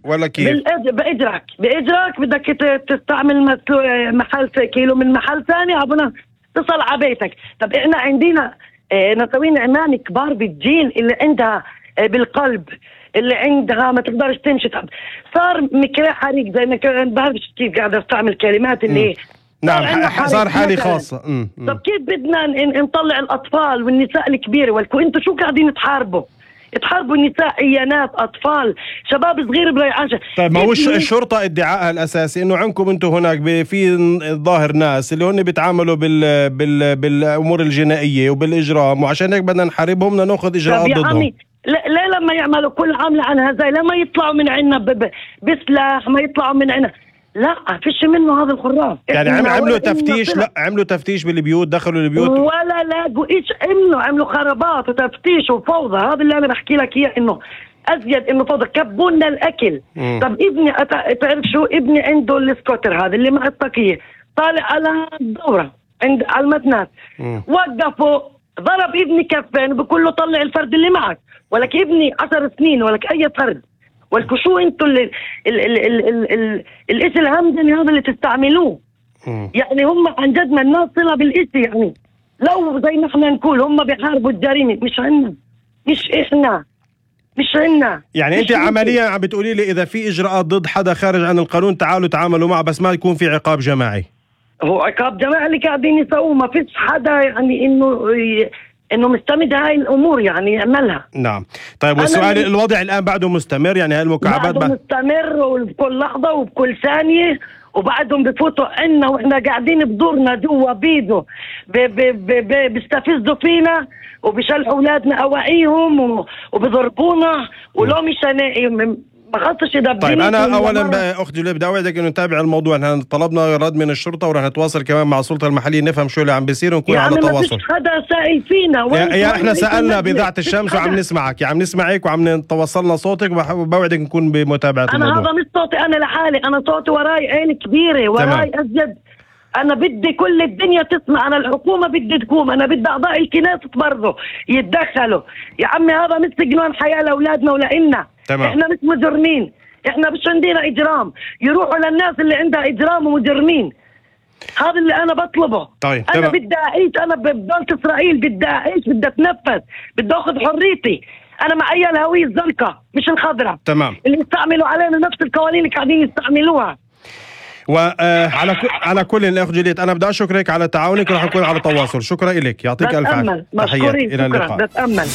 ولا كيف؟ بإجرك بدك تستعمل محل كيلو من محل ثاني عبنا تصل على بيتك. طب احنا عندنا نسوين عمان كبار بالجيل اللي عندها بالقلب، اللي عندها ما تقدرش تمشي. طب صار مكراه حريق زي ما كان، بعرفش كيف قاعدة استعمل كلمات اللي نعم صار حالي خاصة. طب كيف بدنا نطلع الأطفال والنساء الكبيرة انتوا شو قاعدين تحاربوا النساء، عيانات، أطفال، شباب صغير بريعان. طيب ما هو الشرطة ادعائها الأساسي إنه عندكم أنتم هناك في ظاهر ناس اللي هن بيتعاملوا بالأمور الجنائية وبالإجرام، وعشان هيك بدنا نحاربهم، بدنا نأخذ إجراءات ضدهم. لا لما يعملوا كل عملة عن هذا، لما يطلعوا من عنا بسلاح، ما يطلعوا من عنا، لا فيش منه هذا الخراف. يعني عملوا تفتيش؟ لا عملوا تفتيش بالبيوت، دخلوا البيوت ولا لاقوا ايش، عملوا خرابات وتفتيش وفوضى. هذا اللي انا بحكي لك اياه، انه ازيد انه فوضى. كبوا لنا الاكل. طب ابني تعرف شو، ابني عنده السكوتر هذا اللي مع الطاقية، طالع على الدورة على المتنات، وقفوا ضرب ابني كفين وبقول له طلع الفرد اللي معك، ولك ابني 10 سنين ولك اي فرد، ولكن شو انتوا الاسم الهمدني هذا اللي تستعملوه. يعني هم عن جد ما الناس صلة بالاسم. يعني لو زي ما احنا نقول هم بيحاربوا الجريمة، مش عنا، مش عنا. يعني انت عمليا عم بتقولي لي اذا في اجراءات ضد حدا خارج عن القانون تعالوا تعاملوا معه، بس ما يكون في عقاب جماعي. هو عقاب جماعي اللي قاعدين يسووه، ما فيش حدا يعني انه مستمد هاي الامور يعني يعملها. نعم. طيب والسؤال، الوضع الان بعده مستمر؟ يعني هالمكعبات بعده مستمر وبكل لحظه وبكل ثانيه، وبعدهم بفوتوا عنا واحنا قاعدين بدورنا جوا بيدو بيستفزوا فينا وبيشلحوا اولادنا اواعيهم وبضربونا، ولو مش ما خصش يدبرني. طيب انا اولا اختي جوليا بدي اوعدك انه نتابع الموضوع. نحن طلبنا رد من الشرطه ورح نتواصل كمان مع السلطه المحليه نفهم شو اللي عم بيصير ونكون على تواصل. ما فيش حدا سائل فينا. يا احنا سالنا بإذاعة الشمس وعم نسمعك، عم نسمعك وعم نتوصلنا صوتك، وبوعدك نكون بمتابعه الموضوع. انا هذا مش صوتي انا لحالي، انا صوتي وراي عين كبيره، وراي ازيد. انا بدي كل الدنيا تسمع، انا الحكومه بدي تقوم، انا بدي اعضاء الكنائس برضه يتدخلوا. يا عمي هذا مش سجنان حياه لاولادنا ولنا. احنا مش مجرمين، احنا مش عندنا اجرام، يروحوا للناس اللي عندها اجرام ومجرمين. هذا اللي انا بطلبه. طيب انا بدي اعيش، انا بدولة اسرائيل بدي اعيش، بدي اتنفس، بدي اخذ حريتي. انا معي الهوية الزرقاء مش الخضراء. تمام. اللي يستعملوا علينا نفس القوانين اللي قاعدين يستعملوها. على كل الاخ جوليت، انا بدي اشكرك على تعاونك ورح اكون على تواصل. شكرا لك، يعطيك الف عافيه. مشكورين، الى اللقاء. بتأمل.